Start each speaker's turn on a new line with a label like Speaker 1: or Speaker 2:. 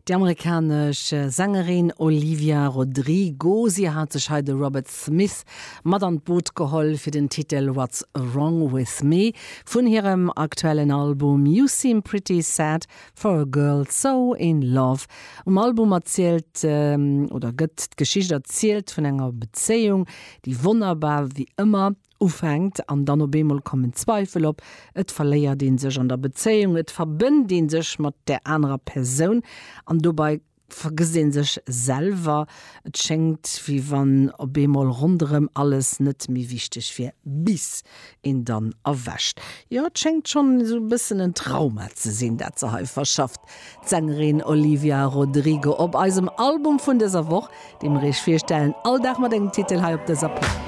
Speaker 1: Déi amerikanesch Sängerin Olivia Rodrigo, si hat sech hei de Robert Smith mat an d'Boot geholl fir den Titel What's Wrong With Me vun hirem aktuellen Album You Seem Pretty Sad For A Girl So In Love. Um Album erzielt oder gëtt d'Geschicht erzielt vun enger Bezéiung, déi wonnerbar wéi ëmmer ufänkt an dann op eemol kommen Zweifel op, et verléiert ee sech an der Bezéiung, et verbënnt ee sech mat där anerer Persoun an dobei vergësst ee sech selwer. Et schéngt wéi wann op eemol ronderëm alles net méi wichteg wier, bis een dann erwächt. Jo, et schéngt schonn esou e bëssen en Trauma ze sinn, dat se hei verschafft, d'Sängerin Olivia Rodrigo op eisem Album vun dëser Woch, dee mer iech virstellen, all Dag mat engem Titel hei op dëser Plaz.